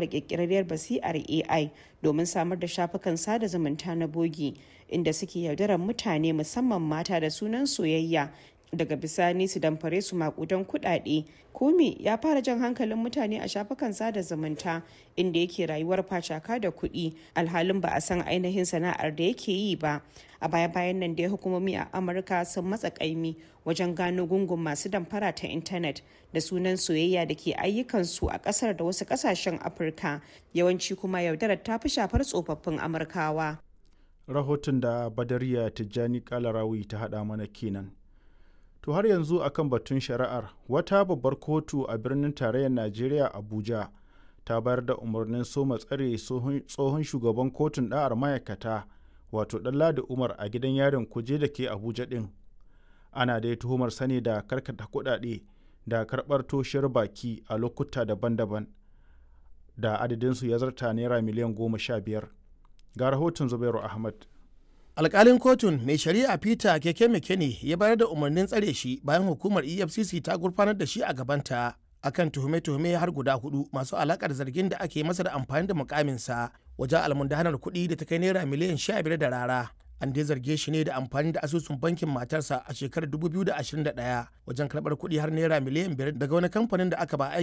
Ƙirƙirarriyar basirar AI domin samar da shafukan sada zumunta na bogi, inda suke yaudarar mutane musamman mata da sunan soyayya daga bisani su damfare su maƙudan kuɗaɗe. Kome ya fara jan hankalin mutane a shafukan sada zumunta, inda yake rayuwar facaka da kuɗi, alhalin ba a san ainihin sana'ar da yake yi ba. A baya-bayan nan dai hukumomi a Amurka sun matsa ƙaimi wajen gano gungun masu damfara ta intanet da sunan soyayya da ke ayyukansu a ƙasar da wasu ƙasashen Afirka, yawanci kuma yaudarar ta fi shafar tsofaffin Amurkawa. Rahoton da Badariya Tijjani Kalarawi ta haɗa mana kenan. To har yanzu akan batun shari'ar, wata babbar kotu a birnin tarayyar Najeriya Abuja ta bayar da umarnin soma tsare tsohon shugaban kotun ɗa'ar ma'aikata wato Ɗanladi Umar a gidan yarin Kuje da ke Abuja ɗin. Ana dai tuhumar sani da karkata kuɗaɗe da karɓar toshiyar baki a lokuta daban-daban da adadinsu ya zarta naira miliyan 15. Ga rahoton Zubairu Ahmad. Alkalin kotun mai shari'a Peter Keke Mekene ya bayar da umarnin tsare shi bayan hukumar EFCC ta gurfanar da shi a gabanta akan tuhume-tuhume har guda hudu masu alakar zargin da ake masa da amfani da mukaminsa wajen almundahanar kuɗi da ta kai naira miliyan 15 da rara. An dai zarge shi ne da amfani da asusun bankin matarsa a shekarar 2021 wajen karɓar kuɗi har naira miliyan 5 daga wani kamfanin da aka ba.